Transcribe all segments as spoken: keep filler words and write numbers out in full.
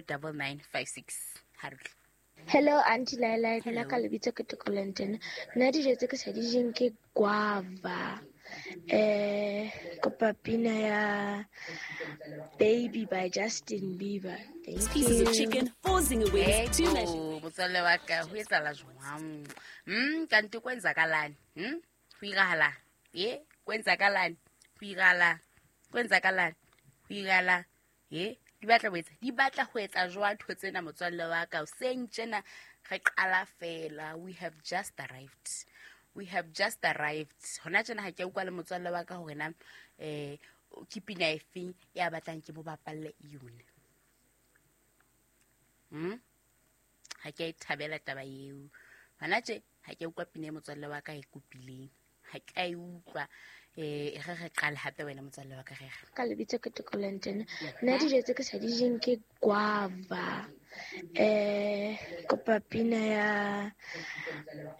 double nine five six. Harutle. Hello Auntie Laila, nna ka lebitso ke Tokolenten. Nna dijo tse ke sa di jeng ke guava. Eh, kopa pina ya Baby by Justin Bieber. Thank Pieces you. of chicken, four zinger wings, two mashed Eko, motswalle wa ka ho etsahala jwang? Hmm, kante kwenzakalani? Hmm? Ho irahalang? Ye, kwenzakalani? Ho irahalang? Kwenzakalani? Ho irahalang? Ye, di batla ho etsa, di batla ho etsa jwang ntho tsena motswalle wa ka? Hoseng tjena re qala fela. We have just arrived. We have just arrived. Hona tjena ha ke a utlwa le motswalle wa ka hore na eh ke pina efeng ya batlang ke mo bapalle yona. Hmm? Ha ke a e thabela taba eo. Hona tje ha ke a utlwa pina e motswalle wa ka e kopileng. Ha ke a e utlwa. Eh, re re qale hape wena motswalle wa ka re re. Ka lebitso ke Tokolenten. Nna dijo tse ke sa di jeng ke guava. Eh, kopa pina ya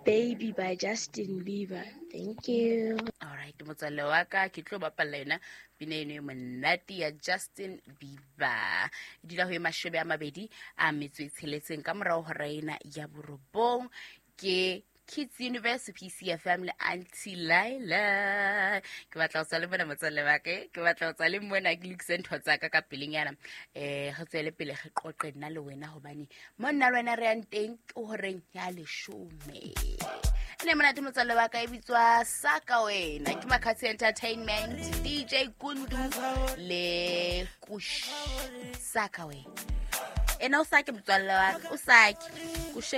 Baby by Justin Bieber. Thank you. Alright, motswalle wa ka ke tlo bapalla yona pina eno e monate ya Justin Bieber. E dula ho e mashome a mabedi a metso e tsheletseng ka morao hora ena ya borobong ke Kids Universe P C F M le Auntie Laila. Ke batla ho tswa le mona motswalle wa ka, ke batla ho tswa le mona ke lokise ntho tsa ka ka pelenyana. Eh, re tswele pele re qoqe nna le wena hobane mo nna le wena re yang teng ke horeng ya leshome. Ne monate motswalle wa ka e bitswa Saka Wena ke Makatsi Entertainment, D J Kundu le Kush. Saka Wena. Ena o sake motswalle wa ka, o sake. Kush